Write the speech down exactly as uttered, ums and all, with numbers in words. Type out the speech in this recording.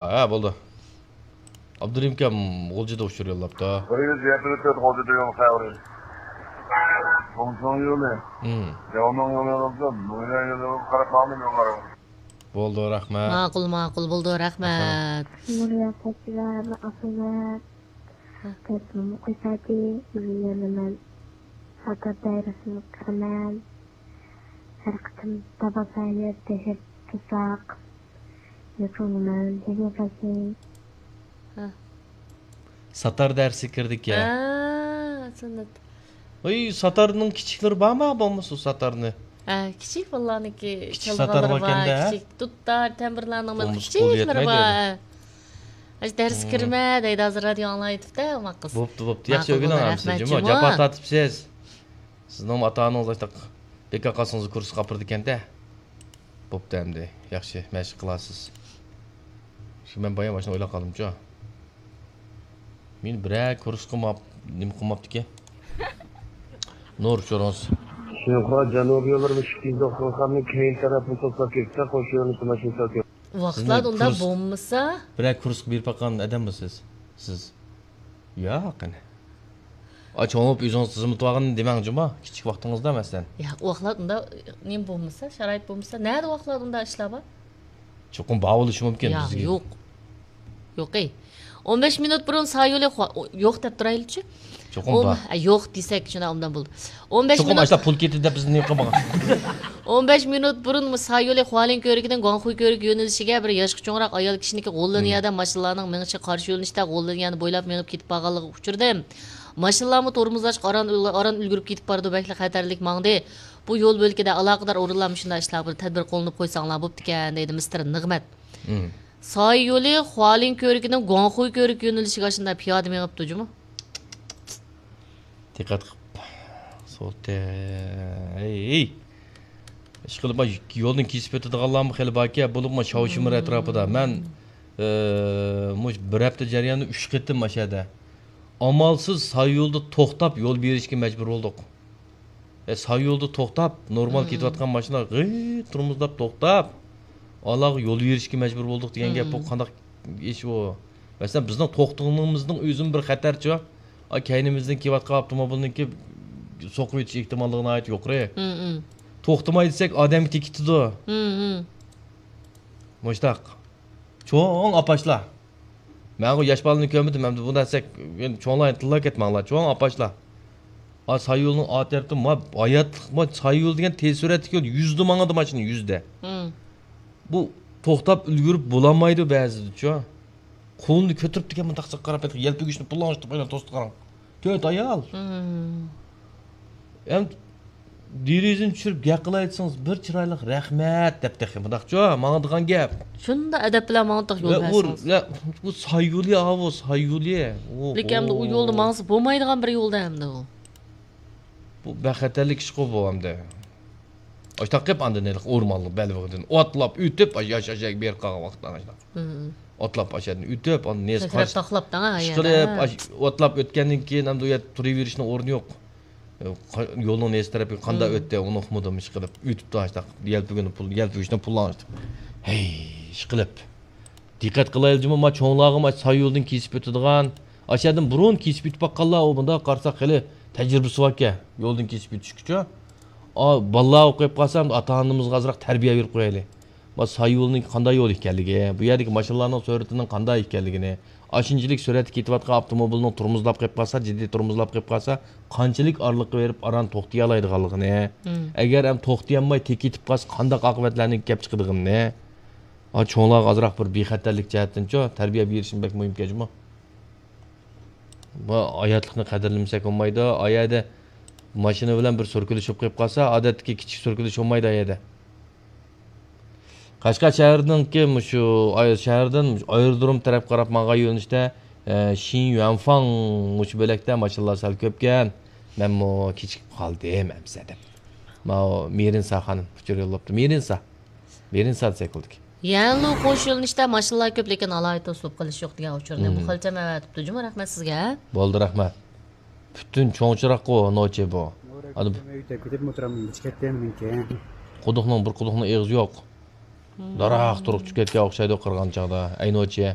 ھە، بولدى. ئابدۇرېھىم ئاكام غۇلجىدا ئۇچۇر يوللاپتۇ. بىر يۈز يەتمىش تۆت غۇلجىدا يول خەۋىرى. خۇڭچىڭ يولى. ھىم. ياۋنىڭ يولى بولسا، نۇيا يولى قاراپ ماڭدىم يوللارغا. بولدى، رەھمەت. ماقۇل، ماقۇل، بولدى، رەھمەت. نۇرىيا سەچىلەر، ئاپىلەر. ھە. تەسلىم قويساكى، بىر يەنە مەن ساتار دائىرىسىنى كىرىمەن. ھەر قېتىم تاپالسايلى دەھشەت تۇتساق، يېقىنغىمەن، ھەدىيە قىلسۇن. ھە. ساتار دەرسى كىردىكەن. ھە، سۈننەت. ۋاي، ساتارنىڭ كىچىكلىرى بارما، بولمىسا ساتارنى؟ ھە، كىچىك بالىلارنىڭكى كىچىك ساتار چالغانلىرى بار، باركەن-دە. كىچىك دۇتار، تەمبۇرلارنىڭ بولمىسا قول كىچىكلىرى يەتمەيدۇ بار. ئەمدى. ھە. ئاشۇ دەرسكە كىرمە دەيدۇ، ھازىر رادىيو ئاڭلاۋېتىپتۇ، ئوماق قىز. بوپتۇ، بوپتۇ. ياخشى، ماقۇل، ئۆگىنىڭ ھەممىسى، رەھمەت، جۇمۇ. جۇمۇ. جاپا تارتىپسىز. سىزنىڭمۇ ئاتا-ئانىڭىز ئاشتاق بىكار قالسىڭىز كۇرسقا ئاپىرىدىكەن-دە. بوپتۇ ئەمدى. ياخشى، مەشىق قىلارسىز. شۇ مەن بايام ماشىنا ئويلاپ قالدىمچۇ. مېنى بىرەر كۇرسقا ماپ-، نېمە قىلماپتىكەن. نۇر، ئۇچۇرىڭىز. شىنخۇا جەنۇبىي يوللىرى ئىككىنچى دوختۇرخانىنىڭ كەينى تەرەپىنى توسلاپ كەتسە، قوش يۆنىلىشتە ماشىنا سەل كۆپ. ۋاقىتلاردا سىزنى ئۇنداق كۇرس-، بولمىسا. بىرەر كۇرسقا بېرىپ باققان ئادەممۇ سىز؟ سىز؟ ياق، قېنى. ئا، چوڭ بولۇپ ئۆزىڭىز خىزمىتى بارغىنىنى دېمەڭ جۇما، كىچىك ۋاقتىڭىزدا مەسىلەن. ياق، ئۇ ۋاقىتلاردا ئۇنداق نېمە بولمىسا، شارائىت بولمىسا، نەدە ئۇ ۋاقىتلاردا ئۇنداق ئىشلار بار؟ چوقۇم بار بولۇشى مۇمكىن ياق، بىزگە. يوق. يوقى. ئون بەش مىنۇت بۇرۇن سايولى خۇا-، يوق دەپ تۇرايلىچۇ. چوقۇم ئون-، بار. ئە، يوق دېسەك، شۇنداق ئوبدان بولدى. ئون بەش چوقۇم مىنۇت ئاشۇنداق پۇل كېتىدۇ دەپ بىزنى نېمە قىلمىغان. ئون بەش مىنۇت بۇرۇن سايولى خۇالىن كۆۋرۈكىدىن گۇاڭخۇي كۆۋرۈك يۆنىلىشىگە بىر ياشقا چوڭراق ئايال كىشىنىڭكى غوللىنىيەدە ماشىنىلارنىڭ مېڭىشىغا قارشى يۆنىلىشتە غوللىنىيەنى بويلاپ مېڭىپ كېتىپ بارغانلىقىغا ئۇچرىدىم. ماشىنىلارمۇ تورمۇزلاشقا ئاران، ئاران ئۈلگۈرۈپ كېتىپ بارىدۇ، بەكلا خەتەرلىك ماڭدى. بۇ يول بۆلىكىدە ئالاقىدار ئورۇنلار مۇشۇنداق ئىشلارغا بىر تەدبىر قوللىنىپ قويساڭلار بوپتىكەن، دەيدۇ مىستېر نىغمەت. مم. سايولى خۇالىن كۆۋرۈكىدىن گۇاڭخۇي كۆۋرۈك يۆنىلىشىگە ئاشۇنداق پىيادە مېڭىپتۇ جۇمۇ. دىققەت قىپ سولتى. ھەي، ھەي. ئىشقىلىپ، يولدىن كېسىپ ئۆتىدىغانلارمۇ خېلى باركەن، بولۇپمۇ شاۋشىمىر ئەتراپىدا. مەن، ئى، مۇشۇ بىر ھەپتە جەريانىدا ئۈچ قېتىم ئاشۇ يەردە ئامالسىز سايولدا توختاپ يول بېرىشكە مەجبۇر بولدۇق. ئە، سايولدا توختاپ، نورمال كېتىۋاتقان ماشىنا غىت تورمۇزلاپ توختاپ، ئالاغا يول بېرىشكە مەجبۇر بولدۇق دېگەن گەپ، بۇ قانداق ئىش ئۇ؟ مەسىلەن، بىزنىڭ توختىغىنىمىزنىڭ ئۆزىمۇ بىر خەتەرچۇ. ئا، كەينىمىزدىن كېلىۋاتقان ئاپتوموبىلنىڭكى سوقۇۋېتىش ئېھتىماللىقى ناھايىتى يۇقىرى. توختىماي دېسەك، ئادەمگە تېگىپ كېتىدۇ. مۇشتاق. چوڭ ئاپاشلار. مەنغۇ ياش بالىنى كۆرمىدىم، ئەمدى بۇنداق دېسەك، يەنە چوڭلار تىللاپ كەتمەڭلار، چوڭ ئاپاشلار. ئا، سايولنىڭ ئا تەرىپىدە، ما، ھاياتلىق، ما، سايول دېگەن تېز سۈرئەتلىك يول، يۈزدە ماڭىدۇ ماشىنا، يۈزدە. بۇ توختاپ ئۈلگۈرۈپ بولالمايدۇ بەزىدىچۇ. قولىنى كۆتۈرۈپتىكەن، مۇنداق قاراپ، يەلپۈگۈچنى پۇللاڭلاشتۇرۇپ، ئايلان توستى قاراڭ. تۆت ئايال. ئەمدى دېرىزىنى چۈشۈرۈپ گەپ قىلاي دېسىڭىز، بىر چىرايلىق رەھمەت دەپ تېخى مۇنداقچۇ، ماڭىدىغان گەپ. شۇنداق ئەدەپ بىلەن ماڭدۇق يول بەرسىڭىز. بۇ سايولى، ئاۋۇ سايولى. لېكىن ئەمدى ئۇ يولدا ماڭسا بولمايدىغان بىر يولدا ئەمدى ئۇ. بۇ بەك خەتەرلىك ئىشقۇ بۇ ئەمدى. ئاشتاق قىپ ئاندىن ھېلىقى ئورمانلىق بەلبېغىدىن ئوتلاپ ئۆتۈپ، ئاش-، ياش-، ياش-، ياش بېرىپ قالغان ۋاقىتتا ئاشتاق. ئوتلاپ ئاشۇ يەردىن ئۆتۈپ، ئاندىن نېسى قاچ-، تاقلاپتىڭ ھە، ئىشقىلىپ، ئاش-، ئوتلاپ ئۆتكەندىن كېيىن ئەمدى ئۇ يەردە تۇرۇۋېرىشنىڭ ئورنى يوق. قا-، يولنىڭ نېسى تەرەپىگە قانداق ئۆتتى، ئۇنى ئۇقمىدىم، ئىشقىلىپ ئۆتۈپتۇ ئاشتاق. يەلپۈگىنى پۇل، يەلپۈگۈچنى پۇللاڭ ئاشتاق. ھەي، ئىشقىلىپ. دىققەت قىلايلى جۇمۇ، ما چوڭلارغىمۇ ئاشۇ سايولدىن كېسىپ ئۆتىدىغان، ئاشۇ يەردىن بۇرۇن كېسىپ ئۆتۈپ باققانلار، ئۇ مۇنداق قارىساق خېلى تەجرىبىسى باركەن، يولدىن كېسىپ ئۆتۈشكىچۇ. ئا، بالىلار ئوقۇپ قالسا، ئاتا-ئانىمىزغا ئازراق تەربىيە بېرىپ قويايلى. ما سايولنىڭ قانداق يول ئىكەنلىكى، بۇ يەردىكى ماشىنىلارنىڭ سۈرئىتىنىڭ قانداق ئىكەنلىكىنى، ئاشۇنچىلىك سۈرئەتتە كېتىۋاتقان ئاپتوموبىلنىڭ تورمۇزلاپ قېلىپ قالسا، جىددىي تورمۇزلاپ قېلىپ قالسا، قانچىلىك ئارىلىققا بېرىپ ئاران توختىيالايدىغانلىقىنى، ئەگەر ئەمدى توختىيالماي تېكىتىپ قالسا، قانداق ئاقىۋەتلەرنىڭ كەپ چىقىدىغىنىنى، ھا، چوڭلارغا ئازراق بىر بىخەتەرلىك جەھەتتىنچۇ تەربىيە بېرىشمۇ بەك مۇھىمكەن جۇمۇ. بۇ ھاياتلىقنى قەدىرلىمىسەك بولمايدۇ. ئا يەردە ماشىنا بىلەن بىر سۈركىلىشىپ قېلىپ قالسا، ئادەتتىكى كىچىك سۈركىلىش بولمايدۇ ئا يەردە. قەشقەر شەھىرىنىڭكى مۇشۇ ئاي-، شەھەردىن مۇشۇ ئايرودروم تەرەپ قاراپ ماڭغان يۆنىلىشتە، ئە، شىن يۈەنفاڭ مۇشۇ بۆلەكتە ماشىنىلار سەل كۆپكەن. مەنمۇ كېچىكىپ قالدىم ئەمىسە دەپ. ماۋۇ مېرىنسا خانىم ئۇچۇر يوللاپتۇ. مېرىنسا. بېرىنسا دېسەك بولىدىكەن. يەنلۇ قوش يۆنىلىشتە ماشىنىلار كۆپ، لېكىن ئالاھىدە توسۇلۇپ قېلىش يوق دېگەن ئۇچۇرنى مۇخەلچەم ئەۋەتىپتۇ جۇمۇ، رەھمەت سىزگە. بولدى، رەھمەت. پۈتۈن چوڭ چىراغقۇ نوچى بۇ. ئادە-، ئۆيدە كېتىپمۇ تۇرامەن، كېچىكەتتىم مېنىڭكى. قۇدۇقنىڭ، بىر قۇدۇقنىڭ ئېغىزى يوق. داراق تۇرۇپ چۈشۈپ كەتكەن ئوخشايدۇ قىرغان چاغدا. ئەي نوچى.